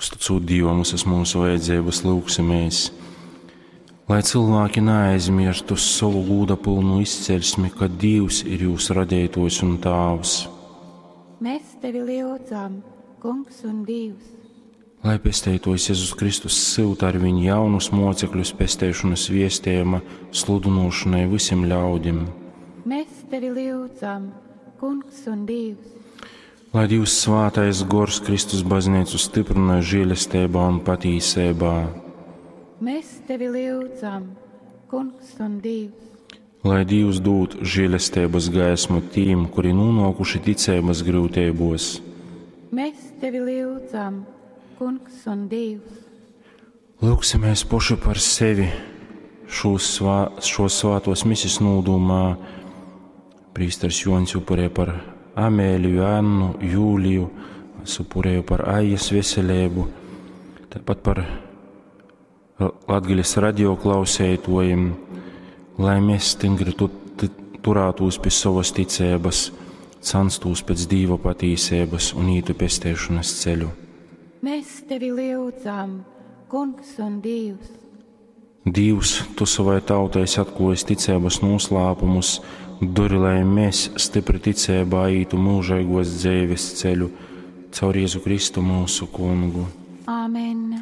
Uzticūt Dīvam visas mūsu vajadzības, lūgsimies, lai cilvēki neaizmirstu savu gūda pilnu izceļsmi, ka Dievs ir jūs radītājs un Tāvs. Mēs tevi lyudzam, Kungs un Dievs. Lai pesteitojs Jēzus Kristus syuta ar viņu jaunus mocekļus pesteišanas viestējuma sludinošanai visiem ļaudim. Mēs tevi lyudzam, Kungs un Dievs. Lai Dievs svātais gors Kristus baznīcu stiprina žēlestībā un patīsībā. Mēs tevi lyudzam, Kungs un Dievs. Lai Dievs dod žēlestības gaismu tīm, kuri nonākuši ticības grūtībos. Mēs tevi lyudzam, Kungs un Dievs. Lūgsimies poši par sevi šos, svā, šos svātos misis nūdumā. Prīsters Joņs upurē par Amēliju, Annu, Jūliju, es upurēju par Aijas veselību, tāpat par Latgales radio klausētojiem, lai mēs stingri tu, turētos pie savas ticības, canstos pēc Dīva patīsības un ītu pestēšanas ceļu. Mēs tevi lyudzam, Kungs un Dievs. Dievs, tu savai tautai esi atklājis ticības noslēpumus, dori, lai mēs stipri ticībā ītu mūžīgos dzīves ceļu caur Jēzu Kristu mūsu kungu. Āmen.